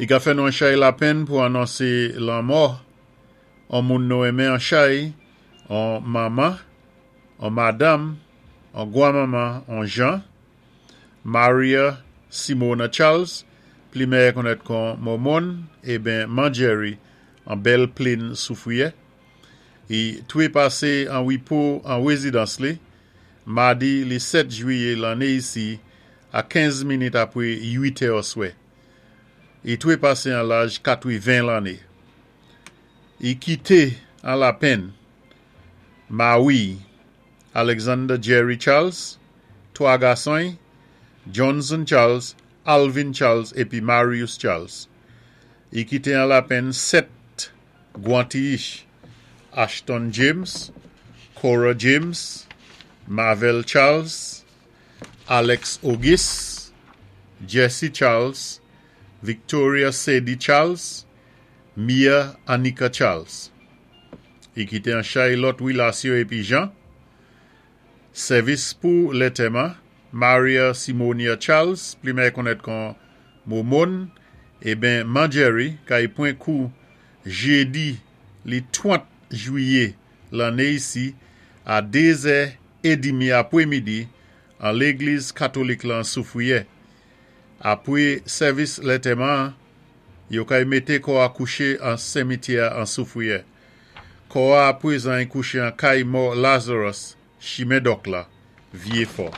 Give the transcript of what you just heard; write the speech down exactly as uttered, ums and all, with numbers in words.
I ka fè nou an chay lapenn pou anonsé lanmò an moun nou enmen an chay, an manman, an madanm, an gwanmanman, an jan, Maria Simona Charles, pli mèyè konnèt kon Momon, eben Manjerry, an Bèl Plinn Soufwiyè. I touwé pasé an wipo an wézidans li, madi li sèt jwiyé lanné isi, a kenz minit apwé uit è oswè. I touwé pasé an laj katwiven lanné. I kité an lapenn mawi Alexander Jerry Charles, twa gason, Johnson Charles, Alvin Charles épi Marius Charles. I kité an lapenn sèt gwanti-ich, Ashton James, Cora James, Marvel Charles, Alex Auguste, Jesse Charles, Victoria Sadie Charles, Mia Anika Charles. I kité an chay lòt wilasyon épi jan. Sèvis pou lantèman, Maria Simonia Charles, pli mèyè konnèt kon Momon, eben Manjerry, kay pwan kou jédi li twant jwiyé lanné isi a dézè édmi apwémidi an légliz katolik lan Soufwiyè. Apwé sèvis lantèman, yo kay mété kò a kouché an simityè an Soufwiyè. Kò a apwézan kouché an kay mò Lazarus, chimen Dòk la, Vyé Fò.